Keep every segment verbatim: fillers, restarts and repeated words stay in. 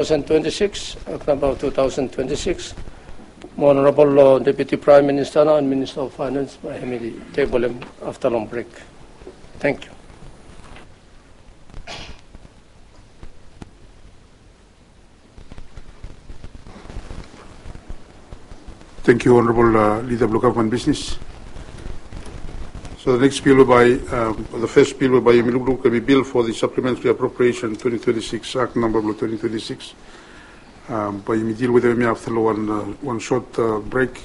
two thousand twenty-six, Act Number two thousand twenty-six. Mo Honorable Deputy Prime Minister nao and Minister of Finance bae hemi tebolem afta long brek. Thank you. Thank you, Honorable Leader blong Gavman Bisnis. So the next bill bae, the first bill bae yumi lukluk hemi bill for the Supplementary Appropriation twenty twenty-six, Act Number blong twenty twenty-six. Bae yumi deal wetem hemia afta long wan sot brek.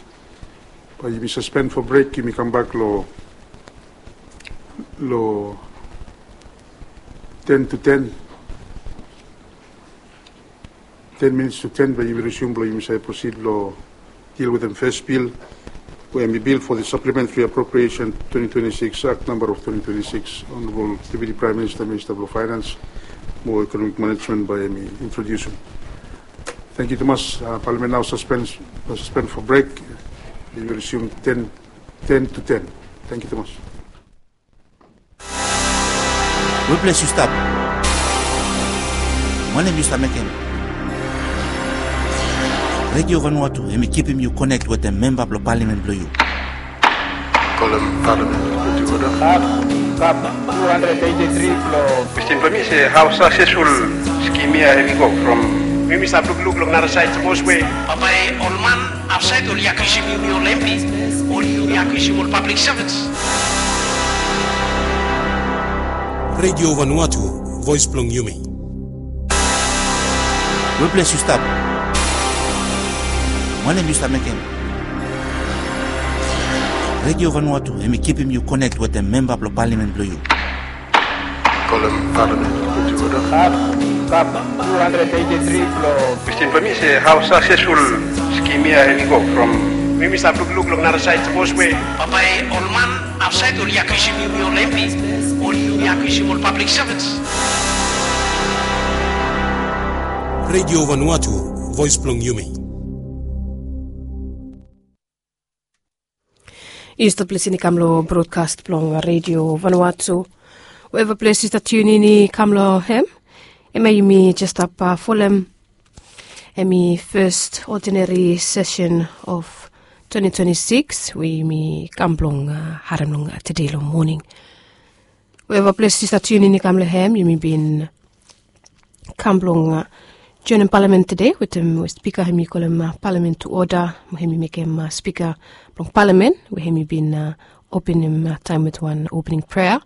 Bae yumi suspend for brek, yumi kambak long ten to ten. Ten minits to ten bae yumi resume blong yumi save proceed long deal wetem first bill, we hemi bill for the Supplementary Appropriation twenty twenty-six, Act Number of twenty twenty-six. Honorable Deputy Prime Minister, Minister blong Finance mo Economic Management bae hemi introdiusum. Thank you tumas. Palamen nao suspend for brek. Yumi resume ten, ten to ten. Thank you tumas. Weples yu stap? Wanem yu stap mekem? Redio Vanuatu hemi kipim yu konek wetem memba blong palamen blong yu. Kolem palamen. Kap, kap two hundred eighty-three blong. Kwestin blong mi se, hao saksesful skim ya hemi go from? Yumi stap lukluk long nara saed sapos we bambae ol man afsaed oli akiusim yumi ol MP, oli yumi akiusim ol pablik sevens. Redio Vanuatu, voes blong yumi. Weples yu stap? Wanem yu stap mekem? Redio Vanuatu hemi kipim yu konek wetem memba blong palamen blong yu. Kolem palamen. Kap, kap two hundred eighty-three blong. Kwestin blong mi se, hao saksesful skim ya hemi go from? Yumi stap lukluk long nara saed sapos we bambae ol man afsaed oli akiusim yumi ol MP, oli yumi akiusim ol pablik sevens. Redio Vanuatu, voes blong yumi. Yu stap lisin i kam long brodkas blong Redio Vanuatu. Weva ples yu stap tiunin i kam long hem, hemia yumi jes stap folem hemi fes odineri sesen of twenty twenty-six we yumi kam blong harem long tede long moning. Weva ples yu stap tiunin i kam long hem, yumi bin kam blong joenem palamen tede wetem we spika hemi kolem palamen tu oda mo hemi mekem spika blong palamen we hemi bin openem taem wit wan opening prea.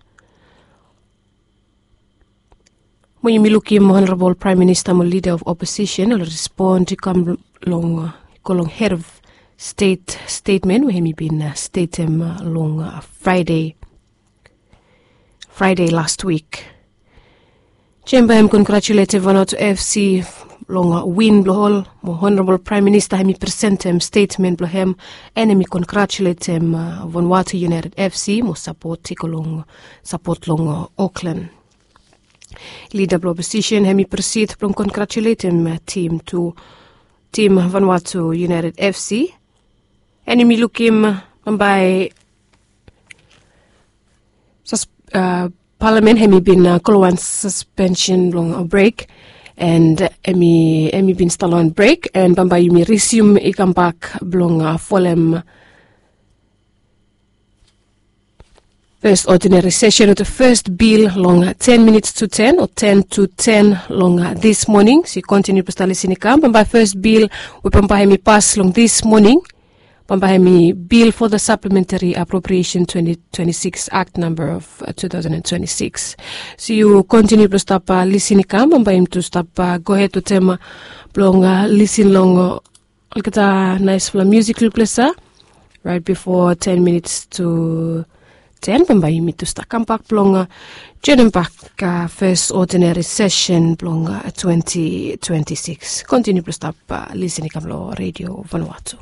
Mo yumi lukim Honorabol Praem Minista mo Lida of Oposisen oli respon i kam long, go long hed of stet stetmen we hemi bin stetem long Fraede, Fraede lastwik. Jemba hem kongratuletem Vanuatu FC long win blong ol, mo Honorabol Praem Minista hemi presentem stetmen blong hem, and hemi kongratuletem Vanuatu United FC mo sapot i go long, sapot long Oklen. Lida blong Oposisen hemi prosid blong kongratuletem tim tu, tim Vanuatu United FC, and hemi lukim bambae palamen hemi bin go long wan suspensen blong brek, and hemi, hemi bin stap long wan brek, and bambae yumi risium i kambak blong folem fes odineri sesen wetem fes bil long ten minits tu ten o ten tu ten long dis moning. So yu kontiniu blong stap lisin i kam, bambae fes bil we bambae hemi pas long dis moning, bambae hemi bil for the Supplementary Appropriation twenty twenty-six Act Number of two thousand and twenty-six. So yu kontiniu blong stap lisin i kam, bambae yumi tu stap gohed wetem blong lisin long olgeta naesfala musik lukples ya. Raet bifo ten minits tu ten, bambae yumi tu stap kambak blong joenem bak fes odineri sesen blong twenty twenty-six. Kontiniu blong stap lisin i kam long Redio Vanuatu.